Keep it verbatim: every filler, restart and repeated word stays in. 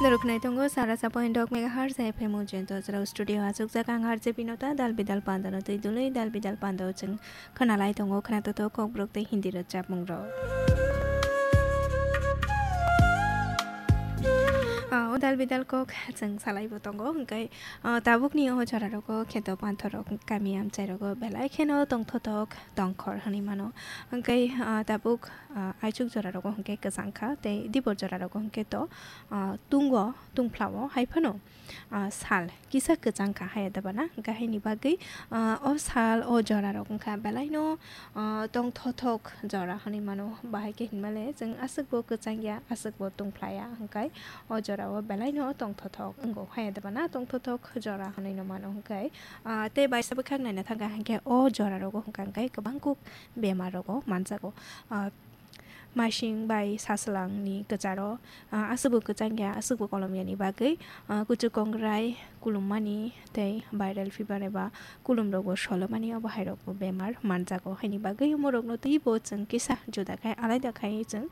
Norok khwnai tongo sara sa point dok megahertz F M o Jayanta Chwrao studio achukjak ang R J Binota dal bidal pandano twi dului dal bidal pandao chwng khwnalai tongo khwnato to kokborok tei Hindi rwchapmung rok. Ah, o dal bidal kok chwng salai bo tongo hwnkhe, ah, tabukni o jora rogo kheto panthorok kami amchai rogo belai kheno tongthothok tongkhor hwnwi mano hwnkhe, ah, tabuk ah, aichuk jora rogo hwnkhe kwchang kha, tei dibor jora rogo hwnkhe to, ah, tungo, tungphlao hai phano, ah, sal kisa kwchang kha haya debana, hwnkhe haini bagwi, ah, o sal, o jora rok wngkha belaino, ah, tongthothok jora hwnwi mano, bahai khe hinmale chwng aswkbo kwchang ya, aswkbo tungphla ya, hwnkhe o jorao belaino tongthothok wngo haya debana, tongthothok jora hwnwi no mano hwnkhe, ah, tei baisa bwkhak naina thangkha hwnkhe o jora rogo hwnkha hwnkhe kwbang kuk bemar rogo manjago. Ah, Masing bai saswlangni kwcharo, ah, aswkbo kwchang ya, aswkbo kolom yani bagwi, ah, kuchuk kongrai kulummani tei viral fever eba kulumrokbo solomani, obo hairokbo bemar manjago. Haini bagwi omorokno teibo chwng kisa juda khai, alaida khai chwng,